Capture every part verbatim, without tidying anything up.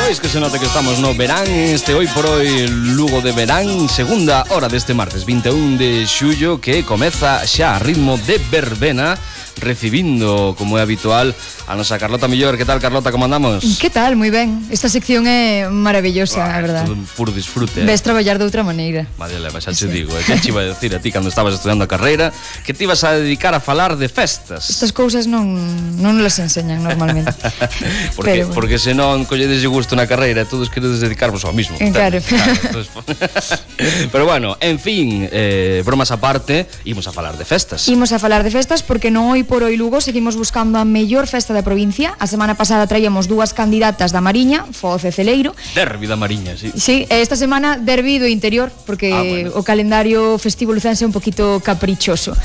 Pois que se nota que estamos no verán, este hoy por hoy Lugo de verán, segunda hora deste martes vinte e un de xullo, que comeza xa a ritmo de verbena, recibindo, como é habitual, a nosa Carlota Millor. Que tal, Carlota, como andamos? Que tal? Moi ben. Esta sección é maravillosa, a verdade. Todo un puro disfrute. Ves traballar de outra maneira. Madre leva, xa te digo, eh, que te iba a decir a ti cando estabas estudiando a carreira, que te ibas a dedicar a falar de festas. Estas cousas non non las enseñan normalmente. porque, bueno. Porque se non colledes gusto na carreira, todos queredes dedicarvos ao mismo. Claro. Claro, entonces, pero bueno, en fin, eh, bromas aparte, imos a falar de festas. Imos a falar de festas porque non hoy por hoy Lugo seguimos buscando a mellor festa da provincia. A semana pasada traíamos dúas candidatas da Mariña, Foz e Celeiro. Derbi da Mariña, sí. Sí, esta semana derbi do interior, porque ah, bueno. o calendario festivo lucense é un poquito caprichoso.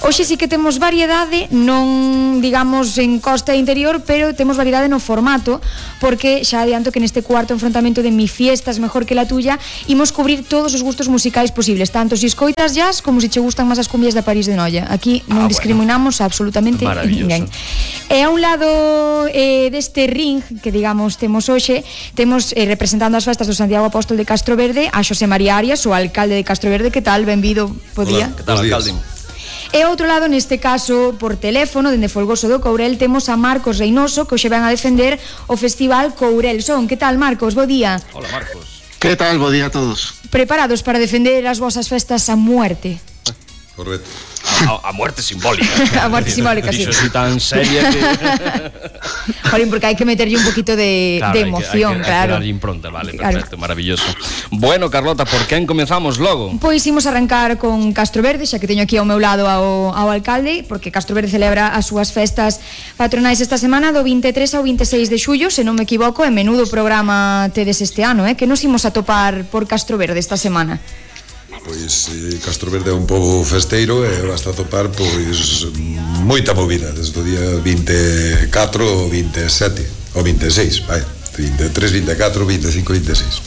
Hoxe sí que temos variedade, non digamos en costa e interior, pero temos variedade no formato, porque xa adianto que neste cuarto enfrontamento de Mi fiesta es mejor que la tuya, imos cubrir todos os gustos musicais posibles, tanto si escoitas jazz como si che gustan máis as cumbias da París de Noia. Aquí non ah, discriminamos bueno. absolutamente ninguén. E a un lado eh, deste ring que digamos temos hoxe, temos eh, representando as festas do Santiago Apóstol de Castro Verde a Xosé María Arias, o alcalde de Castro Verde. Que tal? Benvido, bo día. Hola, que tal, alcalde? E outro lado, neste caso, por teléfono, dende Folgoso do Courel, temos a Marcos Reynoso, que hoxe van a defender o Festival Courel Son. Que tal, Marcos? Bo día. Hola, Marcos. Que tal? Bo día a todos. Preparados para defender as vosas festas a muerte? Correcto. A, a muerte simbólica. A muerte simbólica, sí. Dixo así tan seria que... Jolín, porque hai que meterlle un poquito de, claro, de emoción, hai que, hai que, claro. Hai que darlle impronta, vale, perfecto, claro. Maravilloso. Bueno, Carlota, por quen comenzamos logo? Pois imos arrancar con Castro Verde, xa que teño aquí ao meu lado ao, ao alcalde, porque Castro Verde celebra as súas festas patronais esta semana do vinte e tres ao vinte e seis de xullo, se non me equivoco, e menudo programa tedes este ano, eh? Que nos imos a topar por Castro Verde esta semana? Pois eh, Castro Verde é un pobo festeiro e basta topar pois moita movida desde o día vinte e catro ao vinte e sete ou vinte e seis, vai, vinte e tres, vinte e catro, vinte e cinco, vinte e seis.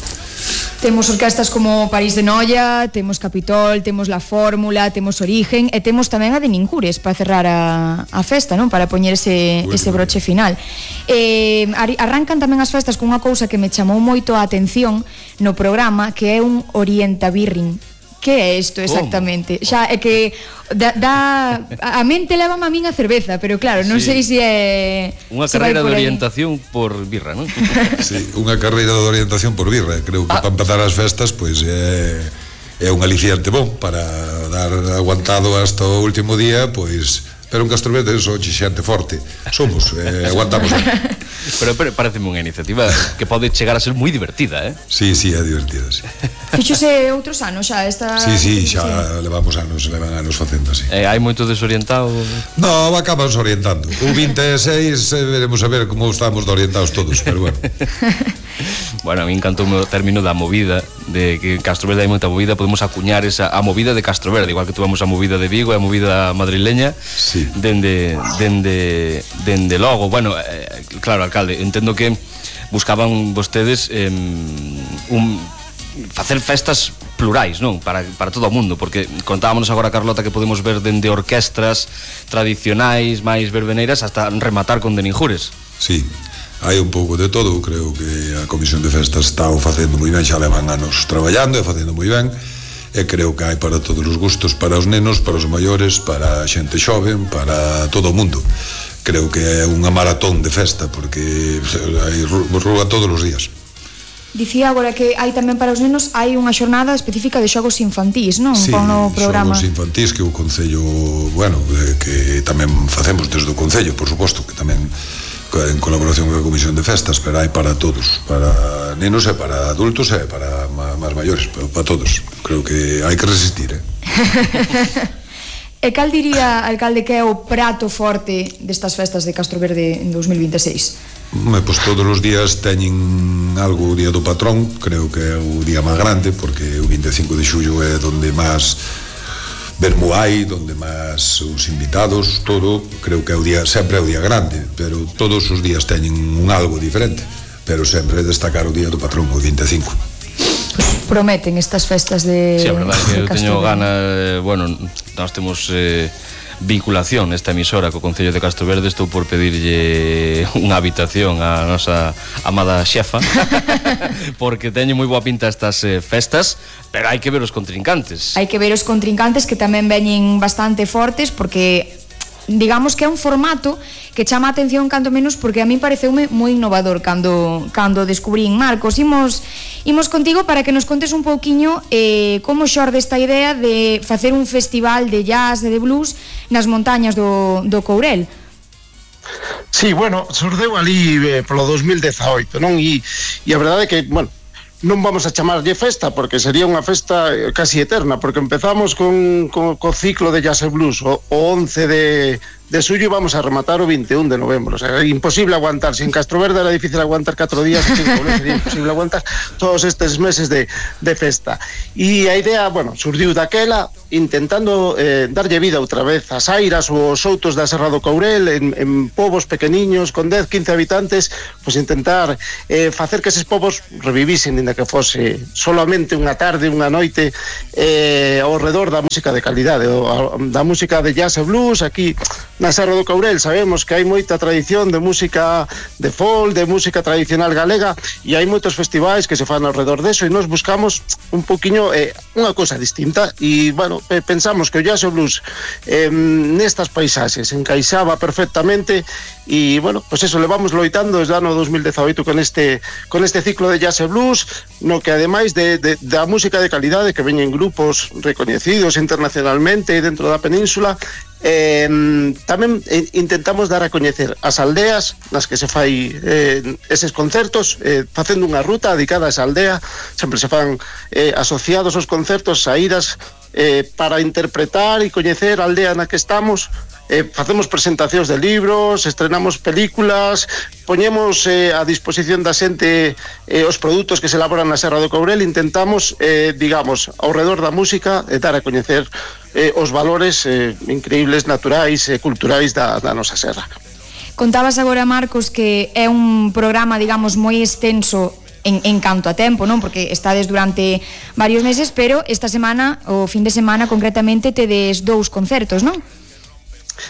Temos orquestas como París de Noia, temos Capitol, temos La Fórmula, temos Origen e temos tamén a de Nincures para cerrar a, a festa, non? Para poñer ese, bueno, ese broche final. Eh, arrancan tamén as festas con unha cousa que me chamou moito a atención no programa, que é un orientabirring. Que é isto exactamente? Como? Xa é que da, da, a mente leva a min a cerveza, pero claro, non sí. sei se é unha carreira de orientación por birra, non? Sí, unha carreira de orientación por birra. Creo que ah. para empezar as festas pois é é un aliciente bom para dar aguantado hasta o último día, pois. Pero en Castro Verde son xente forte. Somos, eh, aguantamos. Pero, pero pareceme unha iniciativa que pode chegar a ser moi divertida, eh? Sí, sí, é divertida, sí. Fíxose outros anos xa esta... Sí, sí, xa sí. levamos anos, levan anos facendo así. Eh, hai moito desorientado? No, acabamos orientando. O vinte e seis eh, veremos a ver como estamos de orientados todos, pero bueno. Bueno, a mí encantou o término da movida, de que en Castro Verde hai moita movida, podemos acuñar esa a movida de Castro Verde, igual que tuvamos a movida de Vigo e a movida madrileña. Sí. Dende, dende, dende logo. Bueno, eh, claro, alcalde, entendo que buscaban vostedes eh, un, facer festas plurais, non? Para, para todo o mundo, porque contábamos agora, Carlota, que podemos ver dende orquestras tradicionais, máis verbeneiras, hasta rematar con de Ninjures. Sí, hai un pouco de todo. Creo que a Comisión de Festas está o facendo moi ben, xa levan anos traballando e facendo moi ben. E creo que hai para todos os gustos, para os nenos, para os maiores, para a xente xoven, para todo o mundo. Creo que é unha maratón de festa, porque hai rúa todos os días. Dicía agora que hai tamén para os nenos, hai unha xornada específica de xogos infantís, non? Sí, con o programa. Xogos infantís que o Concello, bueno, que tamén facemos desde o Concello, por suposto, que tamén en colaboración coa Comisión de Festas, pero hai para todos, para nenos e para adultos e para máis maiores, para, para todos. Creo que hai que resistir, eh? E cal diría, alcalde, que é o prato forte destas festas de Castro Verde en dous mil vinte e seis? Me, pois todos os días teñen algo o día do patrón, creo que é o día máis grande, porque o vinte e cinco de xullo é donde máis vermo hai, donde máis os invitados, todo, creo que é o día, sempre é o día grande, pero todos os días teñen un algo diferente, pero sempre destacar o día do patrón, o vinte e cinco. Pues prometen estas festas de... Sí, a verdade que eu teño gana, eh, bueno, nós temos... Eh, vinculación nesta emisora co Concello de Castroverde, estou por pedirlle unha habitación á nosa amada xefa porque teñen moi boa pinta estas eh, festas, pero hai que ver os contrincantes. Hai que ver os contrincantes que tamén veñen bastante fortes, porque digamos que é un formato que chama a atención canto menos, porque a mí pareceume moi innovador cando cando descubrín. Marcos, imos imos contigo para que nos contes un pouquiño eh, como xorde esta idea de facer un festival de jazz e de blues nas montañas do, do Courel. Sí, bueno, surdeu ali eh, polo dos mil dezaoito, non? E, e a verdade é que, bueno, non vamos a chamarlle festa porque sería unha festa casi eterna, porque empezamos con, con, co ciclo de jazz e blues o, o once de, de suyo e vamos a rematar o vinte e un de novembro. O sea, é imposible aguantar, se en Castroverde era difícil aguantar catro días, en Courel sería imposible aguantar todos estes meses de, de festa. E a idea, bueno, surdiu daquela intentando eh, darlle vida outra vez ás airas ou aos soutos da Serra do Courel en, en povos pequeniños con dez, quince habitantes, pois intentar eh, facer que eses povos revivisen, ainda que fose solamente unha tarde, unha noite eh, ao redor da música de calidade, o, da música de jazz e blues. Aquí na Serra do Courel sabemos que hai moita tradición de música de folk, de música tradicional galega, e hai moitos festivais que se fan ao redor deso, e nos buscamos un poquinho eh, unha cosa distinta, e bueno, pensamos que o jazz e o blues eh, nestas paisaxes encaixaba perfectamente, e bueno, pois pues eso, levamos loitando desde o ano dos mil dezaoito con este con este ciclo de jazz e blues, no que ademais de, de, da música de calidade que veñen grupos recoñecidos internacionalmente dentro da península, Eh, tamén eh, intentamos dar a coñecer as aldeas nas que se fai eh, eses concertos, eh, facendo unha ruta dedicada a esa aldea. Sempre se fan eh, asociados os concertos saídas eh, para interpretar e coñecer a aldea na que estamos. Eh, facemos presentacións de libros, estrenamos películas, poñemos eh, a disposición da xente eh, os produtos que se elaboran na Serra do Courel. Intentamos, eh, digamos, ao redor da música, eh, dar a coñecer eh, os valores eh, increíbles, naturais e eh, culturais da, da nosa serra. Contabas agora, Marcos, que é un programa, digamos, moi extenso en, en canto a tempo, non? Porque estades durante varios meses, pero esta semana, o fin de semana concretamente, tedes dous concertos, non?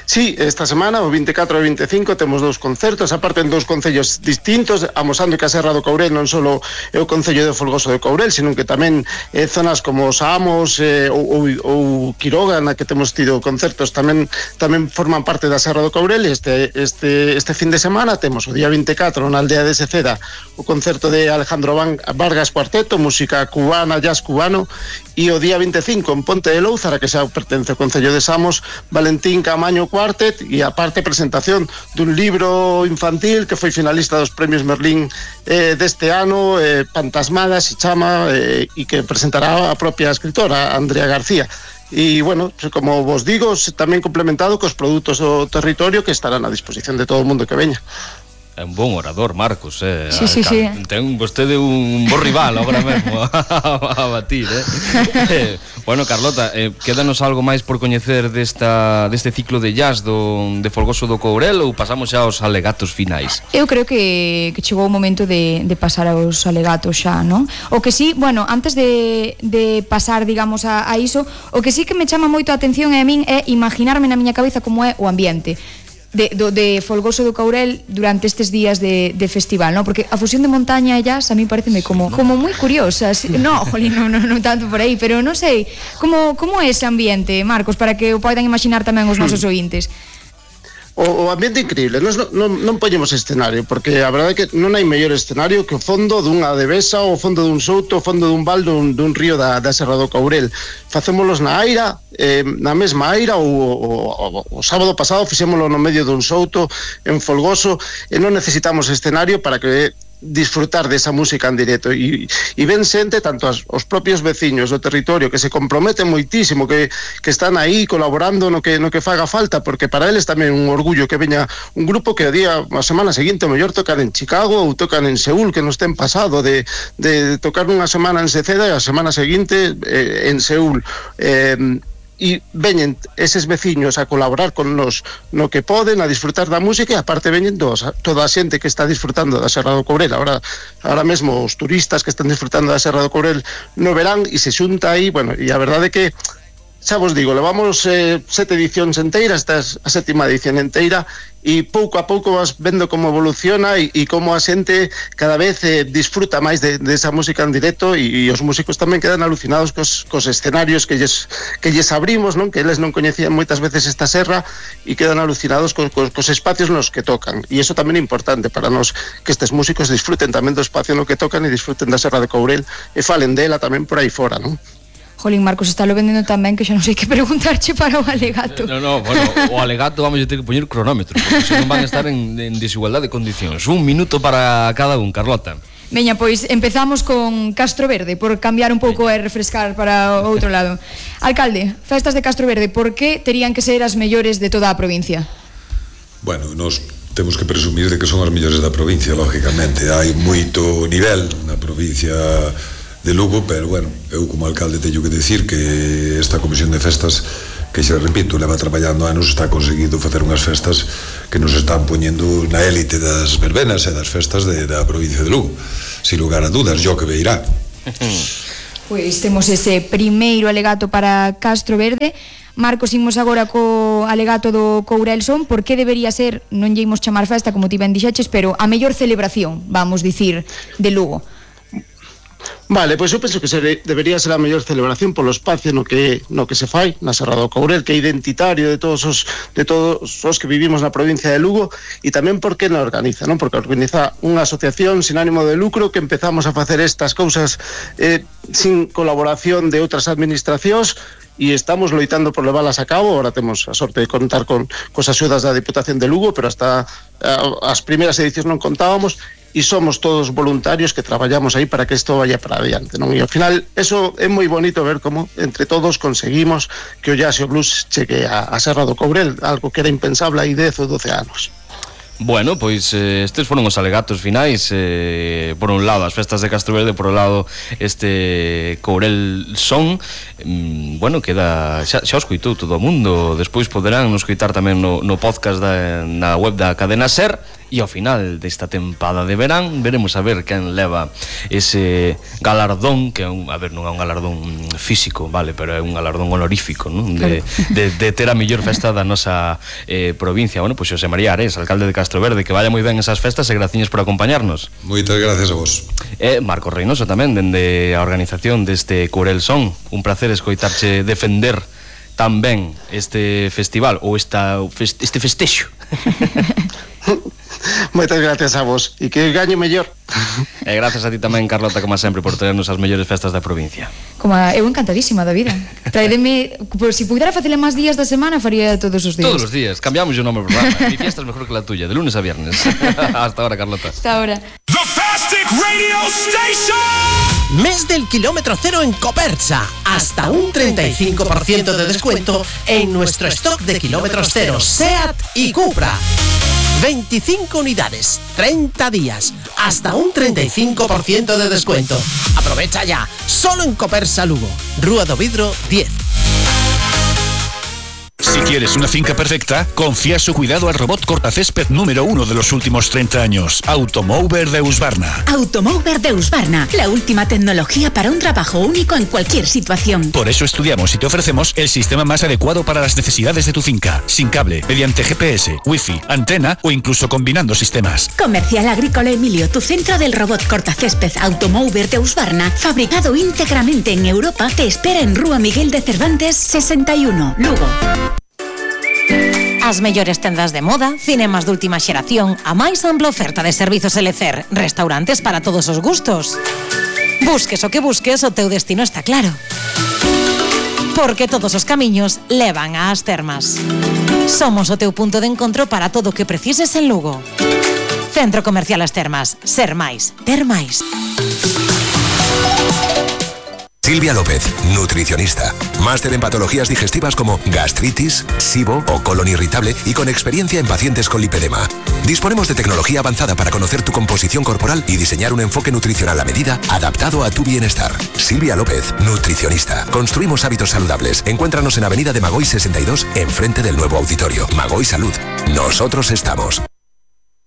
Sí, esta semana, o vinte e catro e vinte e cinco, temos dous concertos, aparte en dous concellos distintos, amosando que a Serra do Courel non só é o concello de Folgoso do Courel, sino que tamén eh, zonas como Samos eh, ou, ou, ou Quiroga, na que temos tido concertos, tamén tamén forman parte da Serra do Courel. Este, este, este fin de semana temos o día vinte e catro na aldea de Seceda o concerto de Alejandro Vargas Cuarteto, música cubana, jazz cubano, e o día vinte e cinco en Ponte de Louzara, que xa pertence ao concello de Samos, Valentín Camaño Cuartet, e aparte presentación dun libro infantil que foi finalista dos premios Merlín eh, deste ano, eh, Fantasmada se chama, eh, e que presentará a propia escritora Andrea García. E, bueno, como vos digo, tamén complementado cos produtos do territorio que estarán a disposición de todo o mundo que veña. É un bon orador, Marcos, eh? Sí, sí, sí. Ten vostede un bo rival agora mesmo a, a batir, eh? eh? Bueno, Carlota, eh, quédanos algo máis por coñecer desta, deste ciclo de jazz do, de Folgoso do Courel, ou pasamos xa aos alegatos finais? Eu creo que, que chegou o momento de, de pasar aos alegatos xa, non? O que sí, bueno, antes de, de pasar, digamos, a, a iso, o que sí que me chama moito a atención é a min é imaginarme na miña cabeza como é o ambiente de, do, de Folgoso do Courel durante estes días de, de festival, ¿no? Porque a fusión de montaña e jazz a mí pareceme como, como moi curiosa. No, jolín, no, no, no tanto por aí, pero non sei, como, como é ese ambiente, Marcos, para que o poidan imaginar tamén os nosos ointes? O, o ambiente increíble, non, non, non poñemos escenario, porque a verdade é que non hai mellor escenario que o fondo dunha devesa, o fondo dun souto, o fondo dun val dun, dun río da, da Serra do Courel. Facémolos na aira, eh, na mesma aira, o, o, o, o sábado pasado fixémolo no medio dun souto en Folgoso, e non necesitamos escenario para que disfrutar desa música en directo, e, e ven xente, tanto as, os propios veciños do territorio que se comprometen moitísimo, que, que están aí colaborando no que, no que faga falta, porque para eles tamén un orgullo que veña un grupo que o día, a semana seguinte o mellor tocan en Chicago ou tocan en Seúl, que nos ten pasado de, de tocar unha semana en Seceda e a semana seguinte eh, en Seúl. eh, e veñen eses veciños a colaborar con nos no que poden, a disfrutar da música, e aparte veñen dos, toda a xente que está disfrutando da Serra do Courel, ahora, ahora mesmo os turistas que están disfrutando da Serra do Courel no verán, e se xunta aí, bueno, e a verdade é que xa vos digo, levamos eh, sete edicións enteiras, esta é a sétima edición enteira, e pouco a pouco vas vendo como evoluciona e, e como a xente cada vez eh, disfruta máis de, de esa música en directo, e, e os músicos tamén quedan alucinados cos, cos escenarios que lles, que lles abrimos, non? Que eles non coñecían moitas veces esta serra e quedan alucinados cos, cos, cos espacios nos que tocan, e iso tamén é importante para nós, que estes músicos disfruten tamén do espacio no que tocan e disfruten da serra de Courel e falen dela tamén por aí fora, non? Jolín, Marcos, está lo vendendo tamén que xa non sei que preguntarche para o alegato. No, no, bueno, o alegato vamos a ter que poñer cronómetro, porque senón van a estar en, en desigualdade de condicións. Un minuto para cada un, Carlota. Veña, pois empezamos con Castro Verde, por cambiar un pouco e refrescar para o outro lado. Alcalde, festas de Castro Verde, por que terían que ser as mellores de toda a provincia? Bueno, nos temos que presumir de que son as mellores da provincia, lógicamente. Hai moito nivel na provincia de Lugo, pero bueno, eu como alcalde teño que decir que esta comisión de festas, que xa repito, leva traballando anos, está conseguido facer unhas festas que nos están poñendo na élite das verbenas e das festas de, da provincia de Lugo, sin lugar a dudas, yo que veirá. Pois temos ese primeiro alegato para Castro Verde. Marcos, imos agora co alegato do Courel Son. Por que debería ser, non lle imos chamar festa como ti ben dixeches, pero a mellor celebración, vamos dicir, de Lugo? Vale, pois eu penso que ser, debería ser a mellor celebración polo espacio no que no que se fai na Serra do Courel, que é identitario de todos os de todos os que vivimos na provincia de Lugo, e tamén porque na organiza, non? Porque organiza unha asociación sin ánimo de lucro que empezamos a facer estas cousas eh, sin colaboración de outras administracións, e estamos loitando por leválas a cabo. Ahora temos a sorte de contar con cos axudas da Diputación de Lugo, pero hasta a, as primeiras edicións non contábamos, e somos todos voluntarios que traballamos aí para que isto vaya para adiante, non? E ao final, eso é moi bonito ver como entre todos conseguimos que o jazz e o blues chegue a, a Serra do Courel, algo que era impensable hai dez ou doce anos. Bueno, pois eh, estes foron os alegatos finais, eh, por un lado as festas de Castro Verde, por un lado este Courel Son. mm, Bueno, queda xa, xa os coitou todo o mundo. Despois poderán nos coitar tamén no, no podcast da, na web da Cadena Ser. E ao final desta tempada de verán veremos a ver quen leva ese galardón, que é un, a ver, non é un galardón físico, vale, pero é un galardón honorífico, non? De, de, de ter a mellor festa da nosa eh, provincia. Bueno, pois Xosé María Ares, alcalde de Castro Verde, que vaya moi ben esas festas e graciñas por acompañarnos. Moitas gracias a vos. E Marcos Reynoso tamén, dende a organización deste Courel Son. Un placer escoitarche defender tan ben este festival, ou esta, este festexo. Moitas gracias a vos, e que gañe mellor. E gracias a ti tamén, Carlota, como sempre, por tenernos as mellores festas da provincia. Como a, eu encantadísima da vida. Traedeme, por si pudera facele máis días da semana, faría todos os días. Todos os días, cambiamos o nome do programa. Mi fiesta es mejor que la tuya, de lunes a viernes. Hasta ahora, Carlota. Hasta ahora. The Fastic Radio Station. Mes del kilómetro cero en Copersa. Hasta un treinta y cinco por ciento de descuento en nuestro stock de kilómetros cero SEAT y Cupra. veinticinco unidades, treinta días, hasta un treinta y cinco por ciento de descuento. Aprovecha ya, solo en Copersa Lugo, Rúa do Vidro diez. Si quieres una finca perfecta, confía su cuidado al robot cortacésped número uno de los últimos treinta años, Automower de Husqvarna. Automower de Husqvarna, la última tecnología para un trabajo único en cualquier situación. Por eso estudiamos y te ofrecemos el sistema más adecuado para las necesidades de tu finca, sin cable, mediante G P S, Wi-Fi, antena o incluso combinando sistemas. Comercial Agrícola Emilio, tu centro del robot cortacésped Automower de Husqvarna, fabricado íntegramente en Europa, te espera en Rúa Miguel de Cervantes sesenta y uno, Lugo. As mellores tendas de moda, cinemas de última xeración, a máis ampla oferta de servizos L C E R, restaurantes para todos os gustos. Busques o que busques, o teu destino está claro. Porque todos os camiños levan ás termas. Somos o teu punto de encontro para todo o que precises en Lugo. Centro Comercial As Termas. Ser máis, ter máis. Silvia López, nutricionista. Máster en patologías digestivas como gastritis, SIBO o colon irritable y con experiencia en pacientes con lipedema. Disponemos de tecnología avanzada para conocer tu composición corporal y diseñar un enfoque nutricional a medida adaptado a tu bienestar. Silvia López, nutricionista. Construimos hábitos saludables. Encuéntranos en Avenida de Magoy sesenta y dos, enfrente del nuevo auditorio. Magoy Salud. Nosotros estamos.